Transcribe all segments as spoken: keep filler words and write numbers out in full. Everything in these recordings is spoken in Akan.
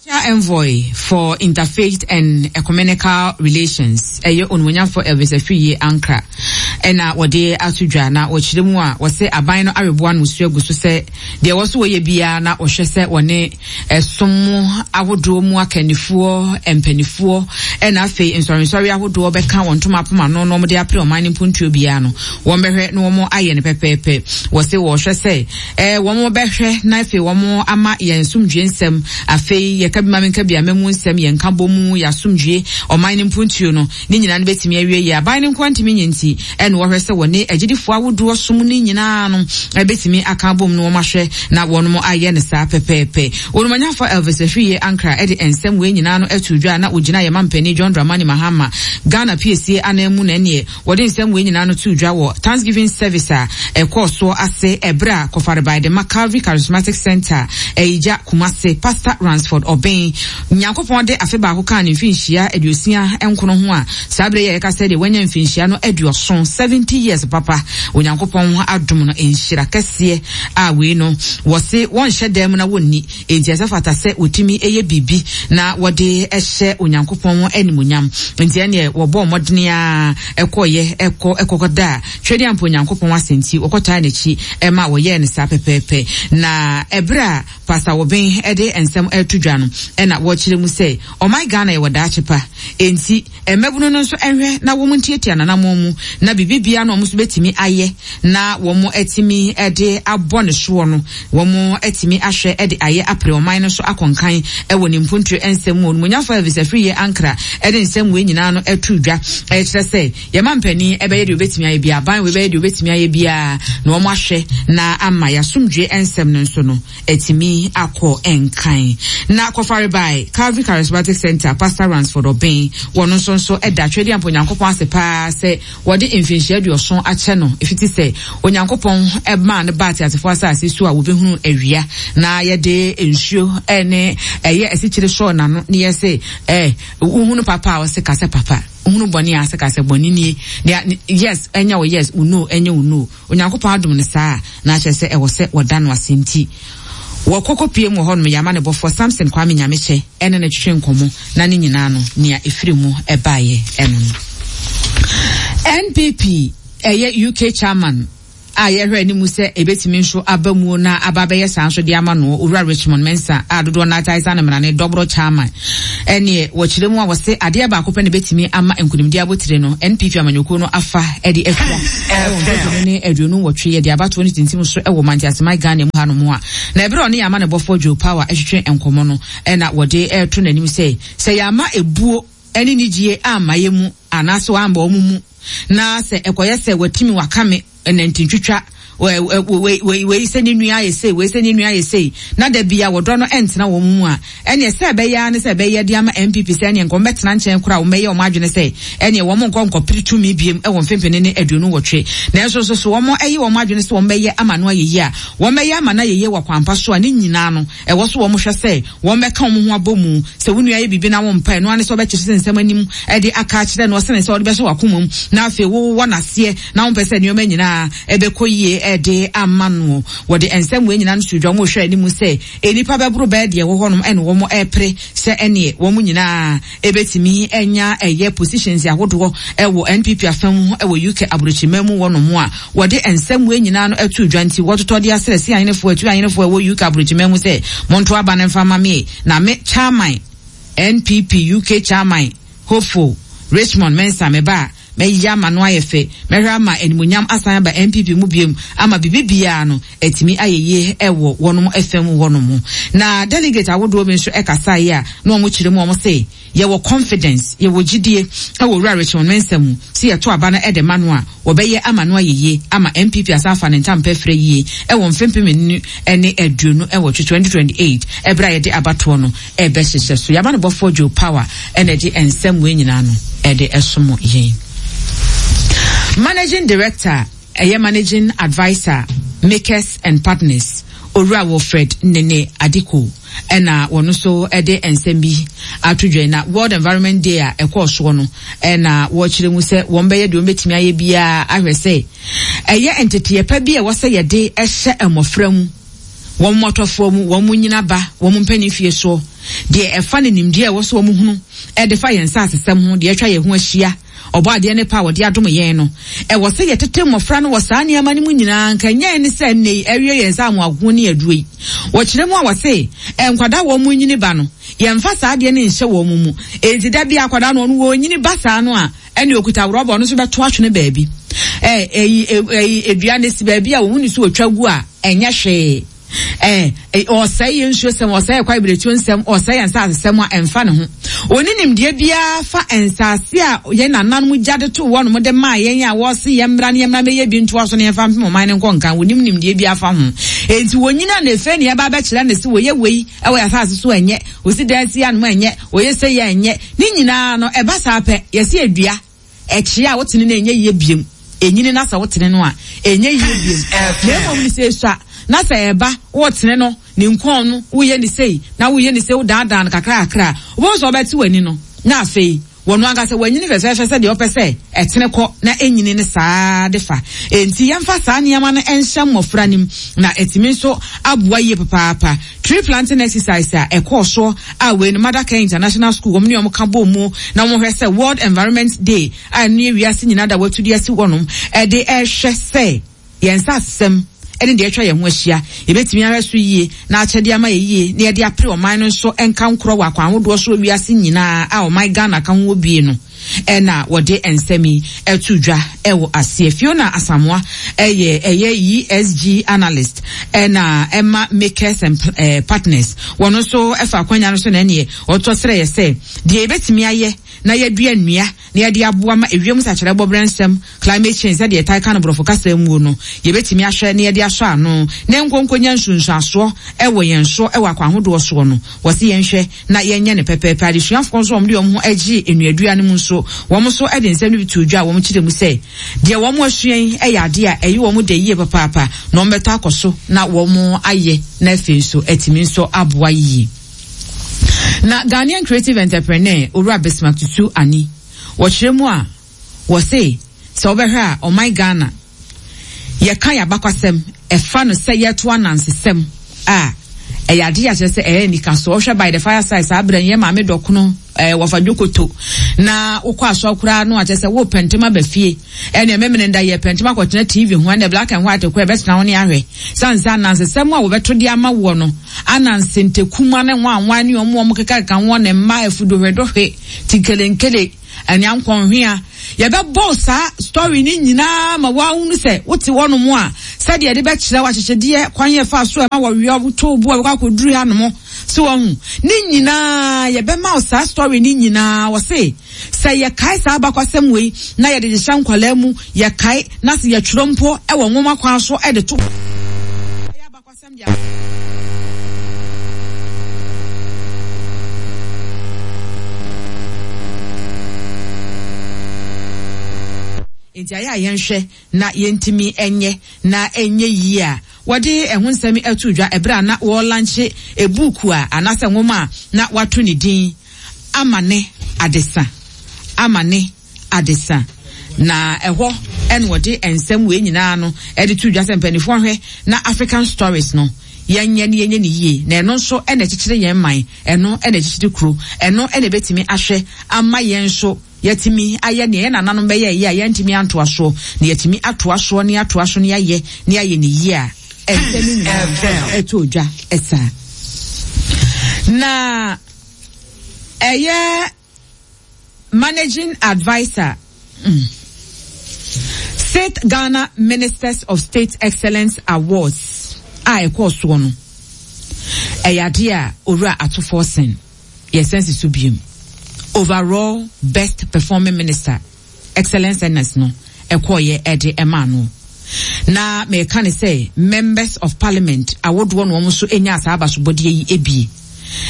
Special Envoy for Interfaith and Ecumenical Relations, ɛyɛ Onimuonyamfoɔ Elvis Afriyie Ankrah, ɛna wɔde ato dwa na wɔkyerɛ mu a wɔse aban no areboa no musuo agu so sɛ deɛ ɛwɔ so wɔyɛ biara na wɔhwɛ sɛ wɔne ɛsom mu ahodoɔ mu akannifoɔ, mpanifoɔ, ɛna afei nsɔrensɔre ahodoɔ bɛka wɔn ntoma apom ano na wɔde apere ɔman no mpuntuo biara no, wɔn bɛhwɛ na wɔn ayɛ no pɛpɛɛpɛ. Wɔse wɔhwɛ sɛ ɛɛ wɔn bɛhwɛ na afei wɔn ama yɛn nsomdwie nsɛm, afei yɛka bi ma menka bi ama mu nsɛm, yɛn nka bɔ mu, yɛn asomdwie, ɔman no mpuntuo no, ne nyinaa no bɛtumi awie yie. Aban no nko ntumi nyɛ nti, ɛna wɔhwɛ sɛ wɔne agyidifoɔ ahodoɔ som no nyinaa no ɛbɛtumi aka abom no wɔn ahwɛ na wɔn ayɛ no saa pɛpɛɛpɛ. Onumanyafo Elvis Afriyie Ankrah ɛde nsɛm wei nyinaa no ato dwa na ogyina yɛ mampanin John Dramani Mahama Ghana P A C anan mu na ɛneɛ wɔde nsɛm wei nyinaa no to dwa wɔ Thanksgiving service a ɛkɔɔ soɔ ase ɛberɛ a kɔfarebae de ma Calvary Charismatic Center Ɛyigya Kumase, Pastor Ransford Ɔbɛn, Nyankopɔn de afe baako kaa ne mfinhyia aduosia nkono ho a saa berɛ yɛ yɛka sɛ deɛ wanya mfinhyia no aduɔson, seventy years papa. Onyankopɔn adom no nhyira kɛseɛ a wei no wɔse wɔnhyɛ dan mu na wɔnni, enti ɛsɛ fata sɛ wɔtumi ɛyɛ biribi na wɔde ɛhyɛ Onyankopɔn animonyam. Nti ɛneɛ wɔbɔ mmɔdene a ɛkɔyɛ ɛkɔ ɛkɔkɔda a twɛdeɛ ampa Onyankopɔn ase nti wɔkɔtaa n'akyi ɛma wɔyɛɛ no saa pɛpɛɛpɛ. Na ɛberɛ a Pastor Wɔbɛn ɛde nsɛm ɛto dwa no, ɛna wɔkyerɛ mu sɛ ɔman Ghana yɛwɔ daakye pa, enti mmabunu no nso ɛhwɛ na wɔn ntiatia nanamoɔ mu na biribi biara na wɔn nso bɛtumi ayɛ na wɔn atumi ɛde abɔ ne soɔ no, wɔn atumi ahwɛ ɛde ayɛ apere ɔman no so akɔnkan ɛwɔ ne mpuntuo nsɛm mu. Onimonyafo Elvis Afriyie Ankrah ɛde nsɛm wei nyinaa no ɛto dwa, ɛkyerɛ sɛ yɛma mpanin ɛbɛyɛ deɛ obɛtumi ayɛ biara, aban wei bɛyɛ deɛ obɛtumi ayɛ biara na wɔn ahwɛ na ama yɛasomdwe nsɛm no nso no ɛtumi akɔ nkan. Na kɔfare by Calvary Charismatic Center, Pastor Ransford Ɔbɛn, wɔn nso nso ɛda twɛdi ampa Onyankopɔn ase paa sɛ wɔde mfinhyia aduɔson akyɛ no efiti sɛ Onyankopɔn ɛmaa no baa teasefoɔ asase so a wɔbɛhunu awia na yɛde nsuo ɛne ɛyɛ asikyire sɔɔ n'ano ne yɛ sɛ ɛɛ wohunu papa a ɔsɛ kasɛ papa, wohunu bɔne a asɛ kasɛ bɔne nie. Yes, ɛnyɛ wo yes, wo no ɛnyɛ wo no. Onyankopɔn adom no saa na akyerɛ sɛ ɛwɔ sɛ wɔda no ase. Nti wɔkɔkɔ pie mu wɔ hɔnom yɛama ne bɔfoɔ Samson Kwame Nyamekyɛ ɛne no twetwe nkɔmmɔ na ne nyinaa no nea ɛfiri mu ɛbaeɛ ɛno no. N P P ɛyɛ U K chairman a yɛhwɛ anim sɛ ebetumi nso aba mu na aba bɛyɛ saa nso de ama no, Owura Richmond Mensa a dodoɔ n'atae sa ne mmara ne dɔborɔ chairman, ɛneɛ wɔkyerɛ mu a wɔse adeɛ baako pɛ na ebetumi ama nkunimdi abotire no N P P amanyɔkuo no afa ɛde afira ɛwɔ mpɛmpɛnu ne aduonu nwɔtwe yɛde abatoɔ no tintim so ɛwɔ Manteaseman Ghana mu hanom a. Na ɛberɛ a ɔne yɛama ne bɔfoɔ Joe Power ɛhwehwɛ nkɔmɔ no, ɛna wɔde ɛreto n'anim sɛ sɛ yɛama ebuo ɛne nigyie ama yɛ mu anaasɛ wɔamba wɔn mu na sɛ ɛkɔyɛ sɛ watimi wakame ɛnantintwitwa wei sɛ ne nua ayɛ sei, wei sɛ ne nua ayɛ sei, na da bia wɔdɔ no ɛntena wɔn mu a, ɛneɛ sɛ ɛbɛyɛ ne sɛ ɛbɛyɛ de ama N P P sɛ ɛneɛ nkɔm bɛtena nkyɛn koraa, wɔn bɛyɛ wɔn adwene sɛ ɛneɛ wɔn nkɔ nkɔpere tumi biem ɛwɔ mfempene ne aduonu wɔtwe. Nanso nso so wɔn ɛyɛ wɔn adwene sɛ wɔn bɛyɛ ama no ayɛ yie a, wɔn bɛyɛ ama no ayɛ yie wɔ kwanpa so a, ne nyinaa no ɛwɔ so wɔn hwɛ sɛ wɔn bɛka wɔn ho abɔ mu. Sɛ wɔn nua yɛ biribi na wɔn mpa ɛno ane sɛ wɔbɛkyerɛ sɛ nsɛm anim ɛde aka akyerɛ no, ɔsɛne sɛ wɔde bɛhyɛ wɔn akoma mu na afei wɔwɔ n'aseɛ na wɔn pɛ sɛ nneɛma nyinaa ɛbɛkɔ yie ɛde ama no. Wɔde nsɛm wei nyinaa no so dwa, wɔn hwɛ anim sɛ nnipa bɛboro bɛɛ deɛ ɛwɔ hɔnom ɛna wɔn ɛpere sɛ ɛneɛ wɔn nyinaa ɛbɛtumi ɛnya ɛyɛ positions ahodoɔ ɛwɔ N P P afɛn mu ɛwɔ U K aburokyima mu wɔnom a wɔde nsɛm wei nyinaa no ɛto dwa. Nti wɔtotɔ de asrɛ si ahenefoɔ atu ahenefoɔ ɛwɔ U K aburokyima mu sɛ monto aba no mfa ma me na me chairman, N P P U K chairman hopeful Richmond Mensa, me ba mɛyɛ ama no ayɛ fɛ, mɛhwɛ ama animonyam asan aba N P P mu biem ama biribi biara no atumi ayɛ yie ɛwɔ wɔnom fam wɔnom. Na delegate ahodoɔ bi nso ɛkasa yi a na wɔn kyerɛ mu, wɔn se yɛwɔ confidence, yɛwɔ gyidie ɛwɔ Owura Richmond Mensa mu si yɛto aba no ɛde ma no a, wɔbɛyɛ ama no ayɛ yie ama N P P asan afa ne ntampa frɛ yie ɛwɔ mfempem nu ɛne aduonu ɛwɔtwe twenty twenty-eight ɛberɛ a yɛde abatoɔ no ɛbɛhyehyɛ so. Yɛama no bɔfoɔ Joe Power ɛna ɛde nsɛm wei nyinaa no ɛde ɛsom yɛn. Managing director, ɛyɛ managing adviser, Makers and Partners, Owura Wilfred Nene Adiko, ɛna wɔn nso ɛde nsɛm bi ato dwa na World Environment Day a ɛkɔɔ soɔ no, ɛna wɔkyerɛ mu sɛ wɔn bɛyɛ deɛ wɔn bɛtumi ayɛ biara ahwɛ sɛ ɛyɛ nteteɛ pa bi a ɛwɔ sɛ yɛde ɛhyɛ mmɔfra mu. Wɔn mmɔtɔfoɔ mu, wɔn nyina ba wɔn mpanin fie soɔ, deɛ ɛfa ne nimdeɛ a ɛwɔ so wɔn hunu ɛde fa yɛn nsaasesɛm ho, deɛ atwa yɛn ho ahyia, ɔbɔ adeɛ ne pa a wɔde adom yɛn no, ɛwɔ sɛ yɛtete mmɔfra no wɔ saa nneɛma no mu nyinaa. Nka nyɛ ne sɛ nnɛ yi awie yɛn nsa amoago ne aduro yi. Wɔkyerɛ mu a wɔse nkwadaa wɔn mu nyini ba no, yɛmfa saa adeɛ no nhyɛ wɔn mu. Enti da bi akwadaa no ɔno wɔnyini ba saa no a, ɛne okuta rɔba ɔno nso bɛto atwene baabi. Ɛɛ ɛyi ɛyi edua ne si baabi a wɔn ni so otwa gu a ɛnyɛ hwee. Eh, ɔsɛe yɛn nsuo sɛm, ɔsɛe yɛn kwaebiretuo nsɛm, ɔsɛe yɛn nsaase sɛm a ɛmfa ne ho. Ɔni nimdeɛ biara fa nsaase a yɛn nananom gya de too wɔnom de maa yɛn a wɔse yɛn mmra ne yɛn mmra mɛyɛ bi ntoa so na yɛmfa mpem ɔman no nkɔ nkan. Wɔnim nimdeɛ biara fa ho. Enti wɔnyina na efe ne yɛba abɛkyerɛ ne se wɔyɛ wei ɛwɔ yɛn asase so ɛnyɛ, wɔsi dan si anom ɛnyɛ, wɔyɛ sɛ yɛ ɛnyɛ. Ne nyinaa no ɛba saa pɛ, yɛse edua ɛkyea a wotene no ɛnyɛ yie biem. Enyini na sɛ wotene no a ɛnyɛ yie biem. Na mmom ne sɛ esua na sɛ ɛba wotene no ne nkɔn no woyɛ ne sei na woyɛ ne sei wodaadaa no kakra kakra, wobɛhu sɛ ɔbɛte w'ani no na afei wɔno ankasa wanyini fɛfɛɛfɛ sɛ deɛ ɔpɛ sɛ ɛtene kɔ na ɛnyini ne saa de fa. Enti yɛmfa saa nneɛma no ɛnhyɛ mmɔfra nim na ɛtumi nso aboa yie papaapa. Tree planting exercise a ɛkɔɔ soɔ a wei no Mothercare International School wɔn ne wɔn ka bɔ mu na wɔn hwɛ sɛ World Environment Day a ɛno yɛ wiase nyinaa da wɔatu de asi hɔnom ɛde ɛhwɛ sɛ yɛn nsa asɛm ɛne deɛ atwa yɛn ho ahyia yɛbɛtumi ahwɛ so yie na akyɛdeɛ ama yɛ yie na yɛde apere ɔman no nso nka nkorɔ wɔ akwan ahodoɔ so wɔ wiase nyinaa a ɔman Ghana ka ho wɔ bie no ɛna wɔde nsɛm yi ɛto dwa ɛwɔ aseɛ. Fiona Asamoah ɛyɛ ɛyɛ E S G analyst ɛna ɛma Makers and eh, Partners. Wɔn nso ɛfa akwanya no so na ɛneɛ ɔtɔ srɛ yɛ sɛ deɛ yɛbɛtumi ayɛ na yɛdua nnua na yɛde aboa ma ewiem nsakyerɛ bɔbrɛ nsɛm climate change sɛdeɛ ɛtae ka no borɔfo kasa mu no, yɛbɛtumi ahwɛ na yɛde asɔ ano na nkonkonya nsunsuasoɔ ɛwɔ yɛn so ɛwɔ akwan ahodoɔ soɔ no, wɔsi yɛnhwɛ na yɛnyɛ ne pɛpɛɛpɛ. Adesuafoɔ nso wɔn de wɔn ho agye nnuadua no mu nso wɔn nso de nsɛm no bi to dwa a wɔn kyerɛ mu sɛ deɛ wɔn asua yi yɛ adeɛ a ɛyɛ wɔn de yie papaapa na wɔn bɛtɔ akɔ so na wɔn ayɛ na afei nso atumi nso aboa yie. Na Ghanaian creative entrepreneur Owura Bismarck Tutu Ani wɔkyerɛ mu a wɔse sɛ wobɛhwɛ a ɔman Ghana yɛka yɛ abakwasɛm ɛfa no sɛ yɛto anansesɛm a ɛyɛ ade akyerɛ sɛ ɛyɛ nika so. Ɔhwɛ by the fireside saa berɛ yɛ maame dɔkono ɛɛ wɔfa dwokoto na wokɔ asɔ koraa no akyerɛ sɛ wo pɛntɛm aba fie ɛne ɛmɛmene nda yɛ pɛntɛm akɔtena T V ho ɛne black and white kɔ ɛbɛtena ho ne ahwɛ sansa anansesɛm a wɔbɛto de ama woɔ no ananse ntekuma ne nwanwan ne ɔmo ɔmo keka ho ne mma afudohwedohwe tikelenkele ɛne ankɔnhwea yɛbɛbɔ saa story ne nyinaa ma woahunu sɛ wote hɔnom a sɛdeɛ yɛde bɛkyerɛ wahyehyɛdeɛ kwan yɛ fa so ɛma wɔwia woto bo a wɔkɔ akɔduru hanom so wɔhu ne nyinaa yɛbɛma wo saa story ne nyinaa. Wɔse sɛ yɛkae saa abakwasɛm wei na yɛde hyehyɛ nkwalaa mu, yɛkae na sɛ yɛtwerɛ mpo ɛwɔ nwoma kwan so ɛde to abakwasɛm deɛ enti ayɛ a yɛnhwɛ na yɛntumi ɛnyɛ na ɛnyɛ yie a wɔde ɛho nsɛm ɛto dwa ɛberɛ a na wɔlankye ebuuku a anaasɛ nwoma a na wato ne din Amane Adesa, Amane Adesa. Na ɛhɔ ɛna wɔde nsɛm wei nyinaa no ɛde to dwa sɛ mpanimfoɔ hwɛ na African stories no yɛnyɛ ne yɛnyɛ ne yie na ɛno nso ɛna ɛkyekyere yɛn man, ɛno ɛna ɛkyekyere kuro, ɛno ɛna ɛbɛtumi ahwɛ ama yɛn nso yɛtumi ayɛ nea yɛn nananom bɛyɛ yɛ a yɛntumi antoa soɔ na yɛtumi atoa soɔ ne atoa so ne ayɛ ne ayɛ ne yie a ɛnsɛm no nyinaa ɛtɔ dwa ɛsaa. Na ɛyɛ managing advisor mm, State Ghana Ministers of State Excellence Awards a ɛkɔɔ soɔ no ɛyɛ adeɛ a Owura Ato Forson yɛsɛnsi so biem overall best performing minister excellence ns no ɛkɔɔyɛ ɛde ɛmaa no. Na mɛka ne sɛ members of parliament awodoɔ no wɔn nso nya saa abasobɔdeɛ yi ebie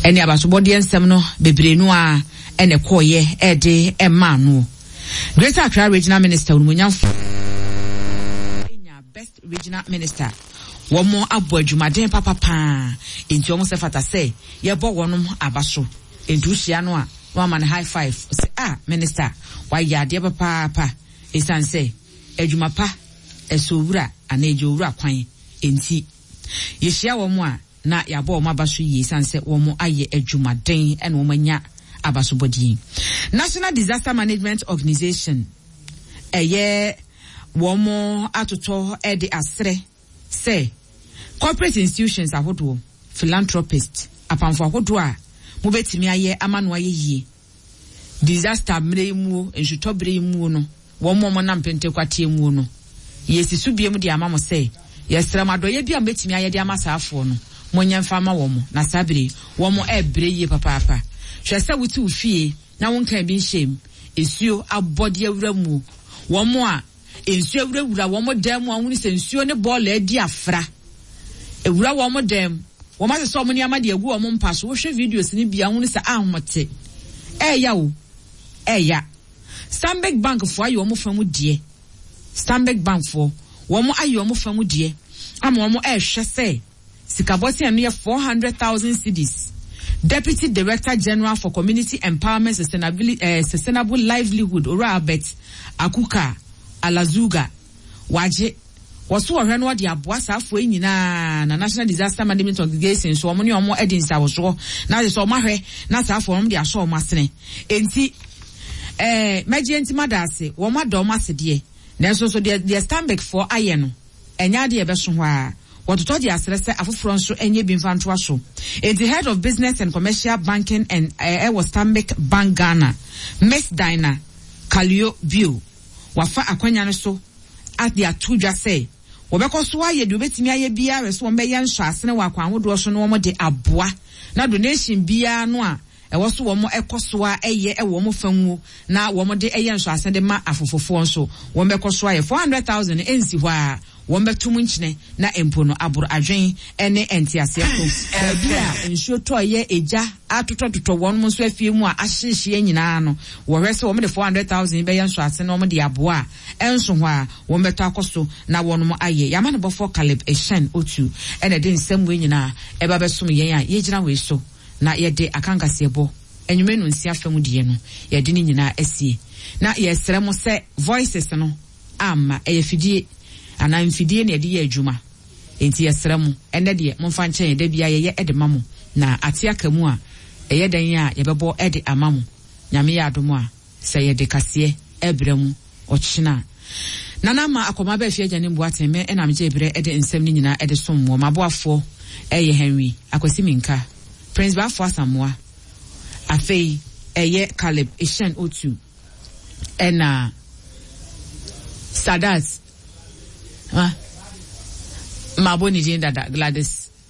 ɛne abasobɔdeɛ nsɛm no bebree no a ɛna ɛkɔɔyɛ ɛde ɛmaa no. Greater Accra Regional Minister Onimonyamfo nya best regional minister wɔn abɔ adwumaden papapaa nti wɔn sɛ fata sɛ yɛbɔ wɔn aba so nti wohyia no a na wama no high five sɛ ah minister wayɛ adeɛ papaapa esan sɛ adwuma pa ɛsɛ owura anaa egye owura kwan nti yɛhyia wɔn a Na yɛabɔ wɔn aba so yie sane sɛ wɔn ayɛ adwumaden ɛna wɔn anya abasobɔdeɛ. National Disaster Management Organization ɛyɛ wɔn atotɔ ɛde asrɛ sɛ corporate institutions ahodoɔ, philanthropist, apamfo ahodoɔ a mobɛtumi ayɛ ama no ayɛ yie disaster mmerɛ yi muo, nsutɔ berɛ yi muo no, wɔn a wɔnam pentekwateɛ muo no, yɛsi so biem de ama mo sɛ yɛsrɛ mo, adɔyɛ bi a mobɛtumi ayɛ de ama saa afoɔ no, monyɛ mfa ama wɔn. Na saa bere wɔn ɛrebrɛ yie papaapa. Hwɛ sɛ wote wo fie na wonka bi nhyɛ mu, nsuo abɔde awura mu, wɔn a nsuo awurawura wɔn dan mu a wɔn sɛ nsuo ne bɔɔla adi afra ewura wɔn dan mu, wɔn asesɛ wɔn nneɛma de agu wɔn mpa so. Wohwɛ videos ne bi a, wɔn sɛ ahomote ɛɛya o, ɛɛya. Stanbic Bank foɔ ayɛ wɔn fa mu deɛ. Stanbic Bank foɔ wɔn ayɛ wɔn fa mu deɛ ama wɔn ɛɛhwɛ sɛ sikabɔten no yɛ four hundred thousand cedis. Deputy Director General for Community Empowerment, Sustainability, uh, Sustainable Livelihood, Owura Albert Akuka Alazuga, wagye wɔso wɔhwɛ no, wɔde aboa saafoɔ yi nyinaa. Na National Disaster Management Organization nso, wɔn ne wɔn di nsawosoɔ na de sɛ wɔn ahwɛ na saafoɔ wɔn de asɔ wɔn asene. Enti ɛɛ mɛgye nti ma da ase, wɔn ada wɔn ase deɛ, nanso nso deɛ deɛ Stanbic foɔ ayɛ no, ɛnyɛ adeɛ ɛbɛso hɔ a wɔtotɔ de asrɛ sɛ afoforɔ nso nyɛ bi mfa ntoa so. Enti Head of Business and Commercial Banking and ɛwɔ Stanbic Bank Ghana, Miss Dinah Kalio Bio, wafa akwanya no so ade ato dwa sɛ wɔbɛkɔ so ayɛ deɛ wɔbɛtumi ayɛ biara sɛ wɔn bɛyɛ nsɔ wɔ akwan ahodoɔ so na wɔn de aboa, na donation biara no a ɛwɔ so wɔn ɛkɔ so a ɛyɛ ɛwɔ wɔn fa mu na wɔn de ɛyɛ nsɔ de ma afofofoɔ nso, wɔn bɛkɔ so ayɛ. Four hundred thousand ɛnsi hɔ a wɔn bɛtum nkyene na mpo no aboro adwen ne nteaseɛ so. Baabi a nsuo tɔ yɛ egya atotɔtotɔ wɔn nso afie mu a ahyehyeɛ nyinaa no, wɔhwɛ sɛ wɔn de four hundred thousand bɛyɛ nso ase na wɔn de aboa a ɛnso hɔ a wɔn bɛtɔ akɔ so na wɔn ayɛ. Yamma no bɔfɔ Caleb Ehyɛn Otu ɛna ɛde nsɛm wei nyinaa ɛba bɛsom yɛn a yɛgyina wei so na yɛde akankaseɛ bɔ enyimɛ no nsia fam deɛ no, yɛde ne nyinaa asie na yɛsrɛ mo sɛ voices no ama ɛyɛ fidie anaa mfidie na yɛde yɛ adwuma, nti yɛsrɛ mo, ɛnɛ deɛ momfa nkyɛn yɛ da bia yɛyɛ ɛde ma mo na ate aka mu a ɛyɛ dan a yɛbɛbɔ ɛde ama mo. Nyame yɛ adom a, sɛ yɛde kaseɛ ɛbrɛ mu ɔkyena. Nana ama akɔma bɛɛ fi agya ne mboaten mɛ ɛna megye berɛ ɛde nsɛm no nyinaa ɛde som wɔ maboafoɔ ɛyɛ Henry Akwasi Minka, Prince Baafo Asamoa, afei ɛyɛ Caleb Ehyɛn Otu, ɛna Sadat ah mabɔ ne din dada, Gladys.